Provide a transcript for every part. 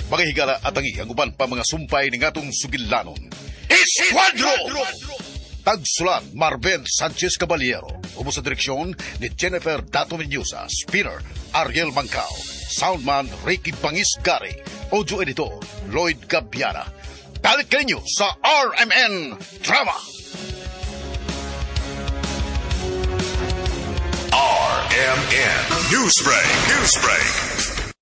Mga higala at tangi ang uban pa mga sumpay ni ngatong sugilanon. Esquadro! Tagsulat Marben Sanchez Caballero. Ubo sa direksyon ni Jennifer Dato Mendoza. Spinner Ariel Mancao. Soundman Ricky Bangis Gary. Audio editor Lloyd Gabiana. Balik kaninyo sa RMN Drama! RMN Newsbreak, Newsbreak.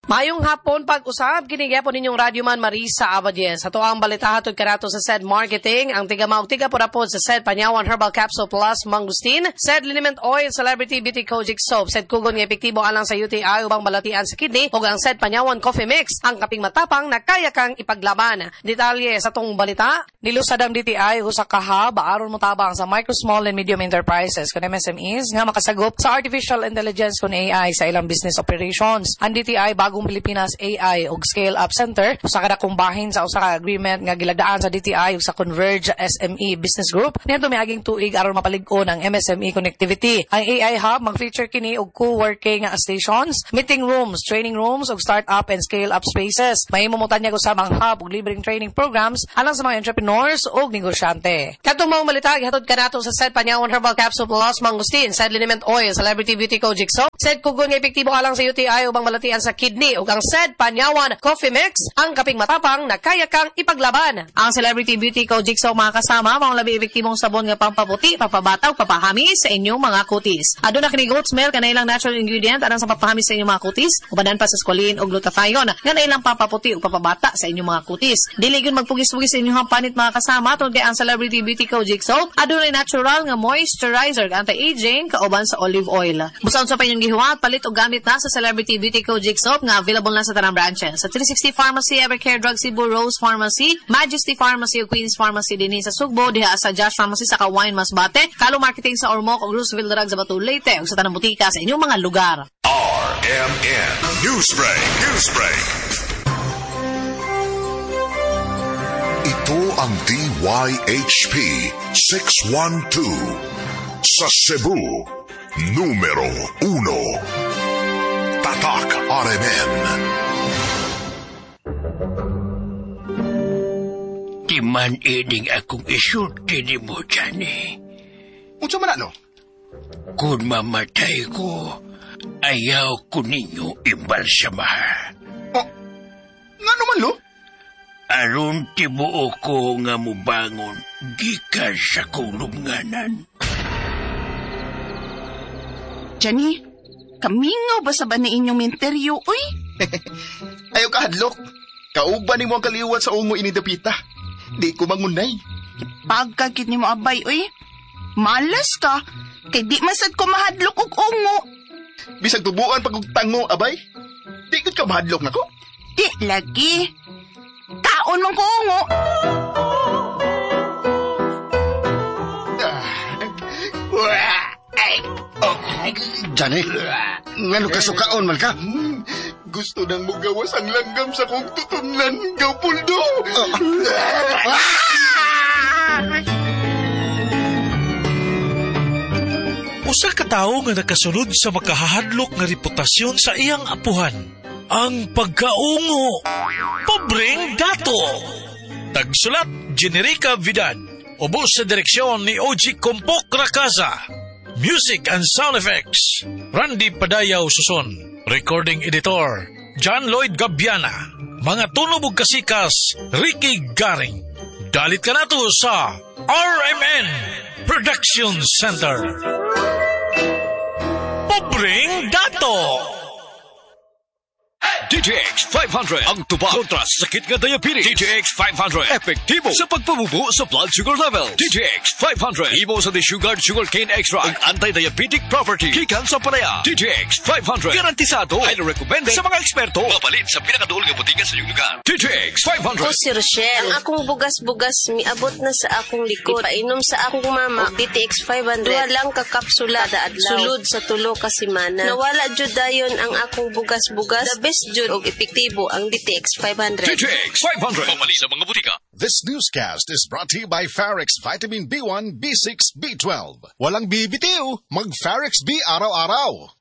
Mayong hapon pag-usab kini gyapon ninyong radyoman Marisa Abadies. Ato ang balita hatod kanato sa SED Marketing, ang tiga maog tiga purapod sa SED Panyawan Herbal Capsule Plus Mangustin, SED Liniment Oil Celebrity Beauty Kojic Soap, SED Kugon nga epektibo alang sa UTI ubang balatian sa kidney ug ang SED Panyawan Coffee Mix, ang kaping matapang na kaya kang ipaglaban. Detalye sa tong balita, nilusad ang DTI usa ka hub aron motabang sa micro, small and medium enterprises kun MSMEs nga makasagop sa artificial intelligence kun AI sa ilang business operations. Ang DTI Bagong Pilipinas AI ug Scale Up Center usa ka dakong bahin sa usa ka agreement nga gilagdaan sa DTI ug sa Converge SME Business Group niadto miaging tuig aron mapalig-on ang MSME connectivity. Ang AI Hub mag-feature kini og co-working stations, meeting rooms, training rooms ug start-up and scale-up spaces. Mahimo mo tanyag usab ang hub og libreng training programs alang sa mga entrepreneurs ug negosyante. Kadtong maong balita gihatod kanato sa SED Panyawan Herbal Capsule Plus Mangustin, SED Liniment Oil, Celebrity Beauty Kojic Soap, SED Kugon nga epektibo alang sa UTI ubang malatian sa kidney ug ang SED Panyawan Coffee Mix, ang kaping matapang na kaya kang ipaglaban. Ang Celebrity Beauty Kojic Soap mga kasama, maong labi epektibong sabon nga pampaputi, papabata ug papahamis sa inyong mga kutis. Aduna kini goat's milk nga ilang natural ingredient alang sa papahamis sa inyong mga kutis, ubanan pa sa squalene ug glutathione nga ilang pampaputi ug papabata sa inyong mga kutis. Dili gyud magpugis-pugis sa inyong panit mga kasama tungod kay ang Celebrity Beauty Kojic Soap adunay natural nga moisturizer anti-aging kauban sa olive oil. Busa unsa pa inyong gihuwat, palit og gamit na sa Celebrity Beauty Kojic Soap nga available na sa tanang branches. Sa 360 Pharmacy, Evercare Drug Cebu, Rose Pharmacy, Majesty Pharmacy ug Queen's Pharmacy dinhi sa Sugbo, diha sa Josh Pharmacy sa Kawayan Masbate, Kalo Marketing sa Ormoc ug Roosevelt Drug sa Bato Leyte ug sa tanang butika sa inyong mga lugar. RMN Newsbreak, Newsbreak. Ito ang DYHP 612 sa Cebu, numero 1. Tatak RMN. Di man ining akong isulti ni mo, Johnny. Unsa man ano? Kung mamatay ko, ayaw ko ninyo imbalsamahan. Oh, nga naman, lo? Aron tibuo ko nga mubangon, gikan sa kulunganan. Johnny, kamingaw ba sa ba na inyong minteryo, uy? Ayaw ka, hadlok. Kauban ni mo ang kaliwat sa ungo ini dapita. Di ko mangunay. Pagkakit ni mo abay, uy. Malas ka. Kay di masad ko mahadlok og ungo. Bisag tubuan pag og tango, abay. Di ko ka mahadlok nako. Di lagi. Kaon man ko ungo. Johnny, ngano ka sukaon man ka? Gusto nang mugawas ang langgam sa kong tutunlan, Gaupuldo. Usa ka tawo nga nakasunod sa makahadlok nga reputasyon sa iyang apuhan. Ang pagkaungo. Pobreng Dato. Tagsulat, Generica Vidad. Ubos sa direksyon ni OG Kompok Rakasa. Music and sound effects, Randy Padayaw Suson. Recording editor, John Lloyd Gabiana. Mga tunog ug kasikas, Ricky Garing. Dalit ka nato sa RMN Production Center. Pobreng Dato! DTX 500 ang tubag kontra sakit nga diabetes. DTX 500 epektibo sa pagpabubo sa blood sugar level. DTX 500 imo sa desugared sugarcane extract ang anti-diabetic property gikan sa palaya. DTX 500 garantisado, highly recommended sa mga eksperto. Mapalit sa pinakaduol nga botika sa inyong lugar. DTX 500. Ko si Rochelle. Ang akong bugas-bugas miabot na sa akong likod. Ipainom sa akong mama og DTX 500. Duha lang ka kapsula kada adlaw. Sulod sa tulo ka semana. Nawala jud dayon ang akong bugas-bugas. The best jud og epektibo ang DTX 500. DTX 500. Pamali sa mga butika. This newscast is brought to you by Farex Vitamin B1, B6, B12. Walang bibitiw, mag-Farex B araw-araw.